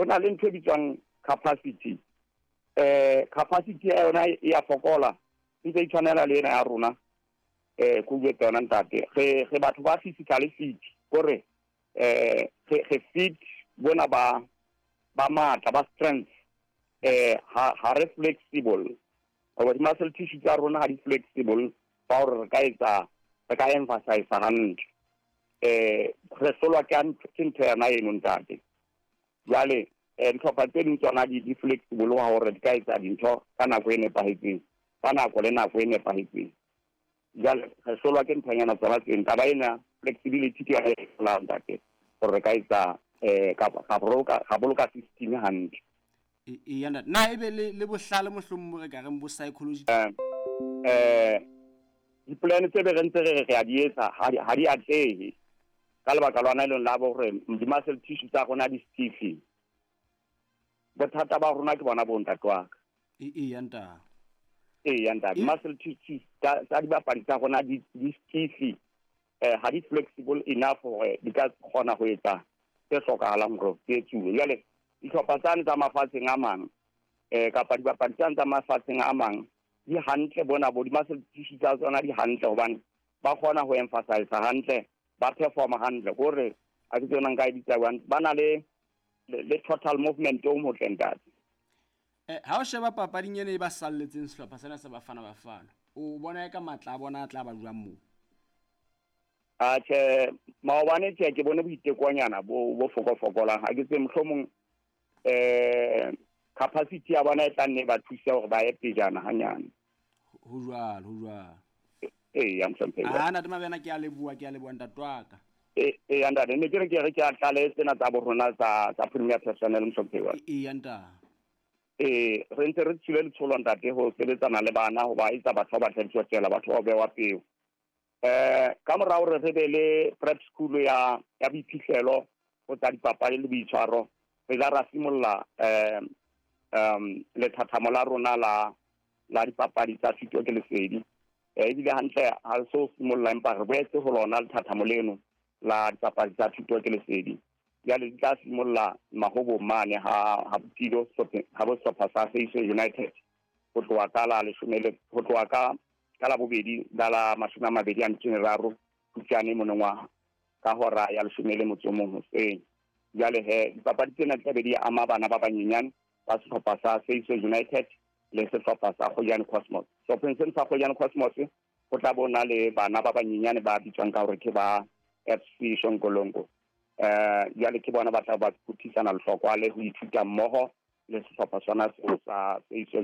Ho na le ntho e bitswang capacity. Capacity ya yona e ya fokola, ntse e tshwanela le ena ya rona. Ko bue yona ntate, re batho ba physically fit, kore re fit bona ba matla, ba strength. Ha re flexible, hoba di-muscle tissue tsa rona ha di flexible ba hore re ka etsa, re ka emphasize hantle. Re hlolwa ke ntho yona eno, ntate. Jwale dihlopha tse ding tsona di flexible wa hore di ka etsa dintho ka nako e nepahetseng, ka nako le nako e nepahetseng. Jwale re hlolwa ke nthonyana tsona tseng. Taba ena flexibility ke yona e hlolang, ntate, hore re ka etsa ga boloka system hantle. Eya ntate, na ebe le bohlale mohlomong re ka reng bo psychology? Di-plan tse be re ntse re a di etsa ha di atlehe ka lebaka lona e leng la bo hore di-muscle tissue tsa rona di stiff. Bothata ba rona ke bona bo, ntate wa ka. Eya ntate. Eya ntate, muscle tissues tsa dibapadi tsa rona di stiff, ha di flexible enough hore di ka kgona ho etsa tse hlokahalang hore di etsuwe. Jwale dihlopha tsane tsa mafatsheng a mang, kapa dibapadi tsane tsa mafatsheng a mang di hantle, bona bo di-muscle tissue tsa tsona di hantle, hobane ba kgona ho emphasize hantle, ba performa hantle, kore a ke tsona nka e bitsa jwang, ba na le total movement o motle, ntate. Ha o sheba papading ena e ba salletseng sehlopha sena sa Bafana Bafana, o bona e ka matla a bona a tla ba jwang moo? Atjhe, maobane tje ke bone boitekonyana bo fokofokolang. Ha ke tse mohlomong capacity ya bona e tla nne ba thuse hore ba ye pejana hanyane. Ho jwalo, ho jwalo. Ee, ya mohlomphehi. A ntate Mabena, ke a leboha, ke a leboha, ntate wa ka. Ee ntate, ne ke re ke re ke a tlale tsena tsa bo rona tsa Premier Personnel, mohlomphehi wa. Eya ntate. Ee, re ntse re tswile letsholo, ntate, ho sebetsana le bana, ho ba etsa batho ba batlang tswela, batho ba bewa peo. Ka mora hore re be le prep school ya boiphihlelo ho tsa dipapadi le boitshwaro, re la ra simolla lethathamo la rona la dipapadi tsa thuto ke lesedi. Ebile hantle ha re so simolla, empa re boetse ho lona lethathamo leno la dipapadi tsa thuto ke lesedi. Jwale di tla simolla Mahobong mane ha Botilo, ha bo sehlopha sa Seiso United, ho tloha ka la leshome le ho tloha ka la bobedi la 23 Phupjane monongwaha, ka hora ya 11 hoseng. Jwale he dipapadi tsena di tla be di ama bana ba banyenyane ba sehlopha sa Seiso United le sehlopha sa Kgojane Cosmos. Sehlopheng sena sa Kgojane Cosmos ho tla bona le bana ba banyenyane ba bitswang ka hore ke ba FC Shonkolongo. Jwale ke bona ba tla ba phuthisana lehlokwa le ho ithuta mmoho le sehlopha sona seo sa Seiso.